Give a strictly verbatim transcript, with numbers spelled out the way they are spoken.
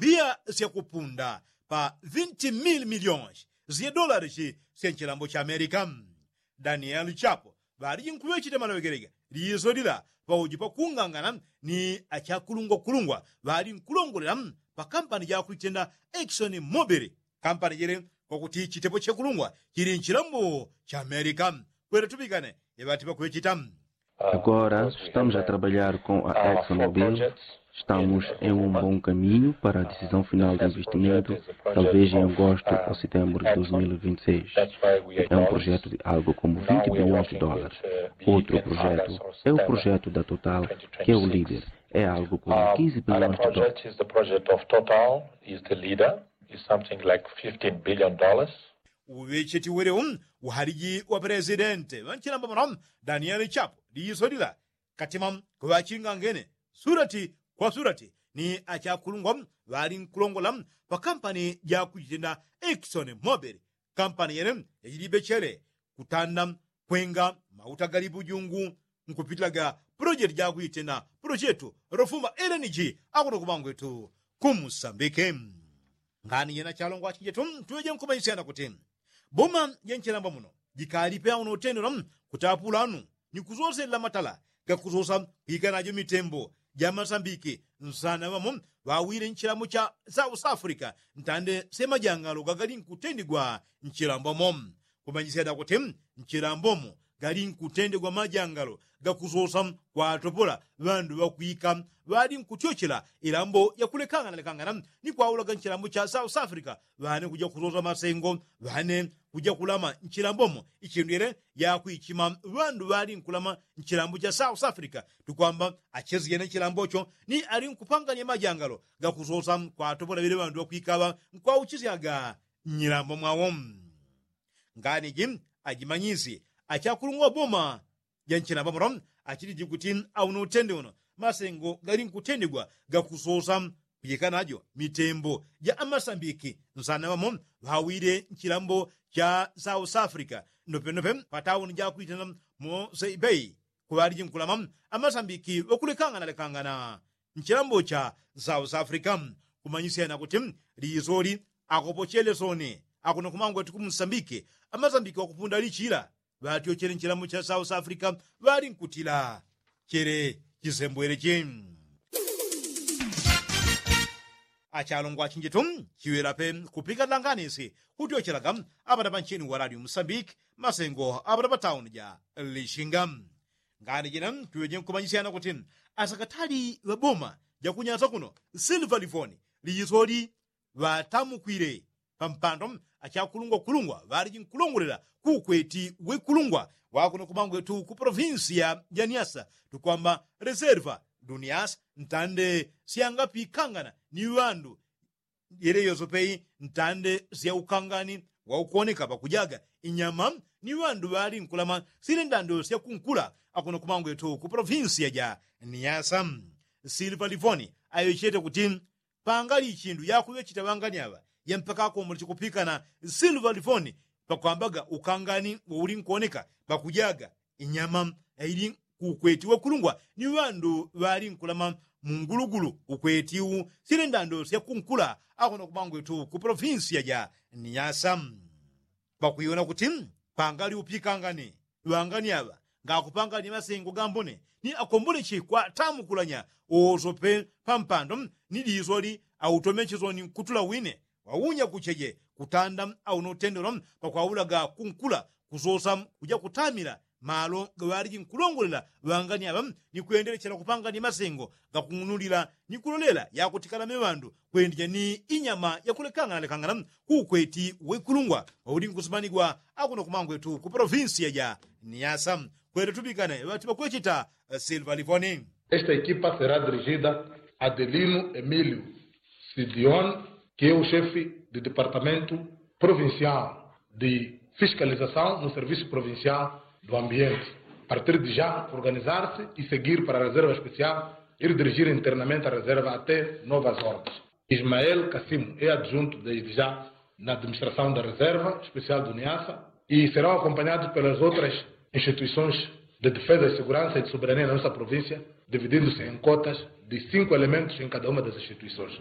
piya syakupunda pa vinti mili milionshi sya dolarishi sya nchilambo cha amerika. Danieli chapo ŵaliji nkuŵecheta maloŵegelega liiso lila pauji pakungangana ni achakulungwakulungwa ŵali nkulongolela pa kampani jakuitenda ekisoni mobili. Kampani jele kwakuti chitepo chekulungwa chili nchilambo cha amerika. Kwele tupikane yaŵati pakuŵecheta. Agora estamos a trabalhar com a exxon mobil. Estamos em um bom caminho para a decisão final de investimento, talvez em agosto ou setembro de dois mil e vinte e seis. É um projeto de algo como vinte bilhões de dólares. Outro projeto é o projeto da total, que é o líder. É algo como quinze bilhões de dólares. Uwe chetiwelewo uhaliji wa presidente ŵanchilamba muno danieli chapo liiso lila katima kuŵachingangene surati kwa surati ni achakulungwa ŵali nkulongola pa kampani jakuchitenda ekisoni mobili. Kampani yene yachilibechele kutanda kwenga mauta gali pujungu nkupitilaga pulojeti jakuitenda pulojeti lofuma lng akuno kumangwetu kumusambike. Ngani jena chalongwa chinjetu tuŵeje nkumanyisyana kuti boma ja nchilamba muno jikalipe auno utendela kutapulanu ni kusoselela matala gakusosa kwika najo mitembo ja masambiki. Nsana ŵamo ŵawile nchilambo cha south africa ntande sya majangalo gagali nkutendigwa nchilambo mo. Kumanyisya dakuti nchilambo mo gali nkutendigwa majangalo gakusosa kwatopola ŵandu ŵakwika ŵali nkutyochela ilambo yakulekangana lekangana ni kwaulaga nchilambo cha south africa. Ŵane kuja kusosa masengo ŵane kuja kulama nchilambo mo ichindu yele yakwichima ŵandu ŵali nkulama nchilambo cha south africa. Tukwamba achesijene nchilambo cho ni ali nkupanganya majangalo gakusosa kwatopola ŵele ŵandu ŵakwika ŵa nkwauchisyaga nyilambo mwawo. Ngani ji ajimanyisye achakulungwa boma ja nchilamba muno achiliji kuti auno utende uno masengo gali nkutendigwa gakusosa kujeka najo mitembo ja amasambiki. Nsana ŵamo ŵawile nchilambo cha south africa nopenope patauni jakwitana mosei bei kuŵaliji nkulama amasambiki ŵakulekangana lekangana nchilambo cha south africa. Kumanyisyana kuti liisoli akopochele soni akuno kumangwati kumusambiki amasambiki ŵakupunda lichila ŵatyochele nchilambo cha south africa ŵali nkutila chele chisembwele chi. Achalongwa chinjetu chiŵela pe kupika langanisi kutyochelaga aŵana ŵancheni wa radio musambiki masengo aŵana ŵatauni ja lishinga. Ngani jina tuŵeje nkumanyisyana kuti asakatali ŵaboma jakunyasa kuno silva livoni liisoli ŵatamukwile pampando achakulungwa kulungwa ŵaliji nkulongolela kuukweti wekulungwa wakuno kumangwetu ku polovinsiya ja niasa tukwamba reserva dunias ntande syangapikangana ni ŵandu yele yosopeyi ntande syaukangani waukuoneka pakujaga inyama ni ŵandu ŵali nkulama sili ndando syakunkula. Akuno kumangwetu ku polovinsiya ja niasa silva livoni ayochete kuti pangali ichindu yakuŵechita ŵangani aŵa yampaka akombole chikupikana silva livoni pakwambaga ukangani wauli nkuoneka pakujaga inyama yaili kuukweti wekulungwa ni ŵandu ŵali nkulama mungulugulu ukweti u sili ndando syakunkula. Akuno kumangwetu ku polovinsiya ja niasa pakuiwona kuti pangali upikangani ŵangani aŵa ngakupangani masengo gambone ni akomboleche kwatamukulanya owosope pampando ni diisoli automeche soni nkutula wine waunya kucheje kutanda auno utendelo pakwaulaga kunkula kusosa kuja kutamila malo gaŵaliji nkulongolela ŵangani aŵa ni kwendelechela kupangani masengo gakung'unulila ni kulolela yakutikala meŵandu kwendija ni inyama yakulekangana lekangana kuukweti wekulungwa wauli nkusimanigwa akuno kumangwetu ku polovinsiya ja niasa. Kwele tupikane ŵati ŵakwecheta silva livoni. Esta equipa será dirigida a delino emilio sidion, que é o chefe de departamento provincial de fiscalização no serviço provincial do ambiente. Partir de já organizar-se e seguir para a reserva especial ir dirigir internamente a reserva até novas ordens. Ismael cassimo é adjunto desde já na administração da reserva especial do niasa e serão acompanhados pelas outras instituições de defesa de segurança e de soberania na nossa província, dividindo-se em cotas de cinco elementos em cada uma das instituições.